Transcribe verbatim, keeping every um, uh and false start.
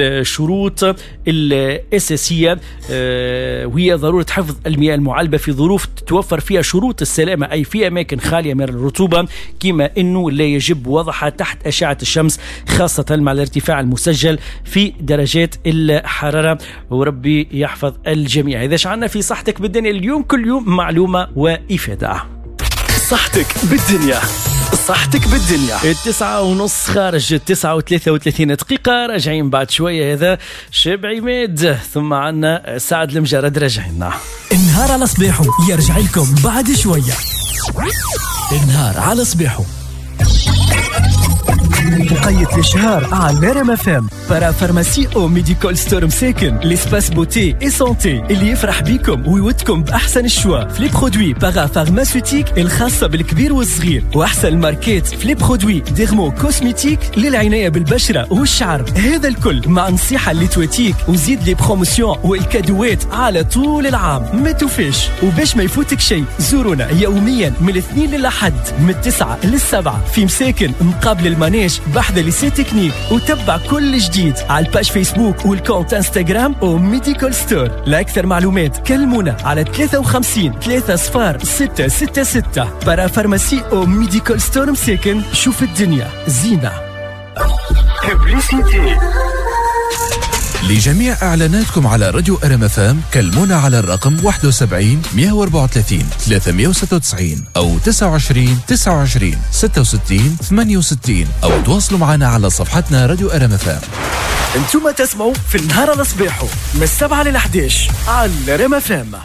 الشروط الأساسية آه، وهي ضرورة حفظ المياه المعلبة في ظروف تتوفر فيها شروط السلامة، أي في أماكن خالية من الرطوبة، كما أنه لا يجب وضعها تحت أشعة الشمس، خاصة مع الارتفاع المسجل في درجات الحرارة. وربي يحفظ الجميع. إذا شعرنا في صحتك بالدنيا اليوم، كل يوم معلومة وإفادة. صحتك بالدنيا، صحتك بالدنيا. التسعة ونص خارج التسعة وثلاثة وثلاثين دقيقة، راجعين بعد شوية. هذا شاب عماد، ثم عنا سعد المجرد، راجعين. النهار على صباحه يرجع لكم بعد شوية. النهار على صباحه وقيت الشهر على R M F M. Parapharmacie او Medical Store مساكن، l'espace beauté et santé اللي يفرح بيكم ويودكم باحسن ال choix في les produits parapharmaceutiques الخاصة بالكبير والصغير، واحسن الماركات في les produits dermo-cosmétiques للعنايه بالبشره والشعر. هذا الكل مع نصيحة اللي تواتيك، وزيد les promotions والكادوات على طول العام ما توفيش. وباش ما يفوتك شيء، زورونا يوميا من الاثنين للأحد من التسعة للسبعة في مساكن مقابل ال manège بحذا lycée technique، وتبع كل جديد على ال page Facebook وال compte Instagram او Medical Store. لاكثر معلومات كلمونا على ثلاثة وخمسين ثلاثة صفار ستة ستة ستة. Parapharmacie او Medical Store مساكن، شوف الدنيا زينة. Publicité. لجميع إعلاناتكم على راديو R M F M كلمونا على الرقم واحد وسبعين مية وأربعة وثلاثين ثلاثمية وستة وتسعين أو تسعة وعشرين تسعة وعشرين ستة وستين ثمانية وستين، أو تواصلوا معنا على صفحتنا راديو R M F M. انتم تسمعوا في النهار على صباحه من السبعة للأحداش على R M F M.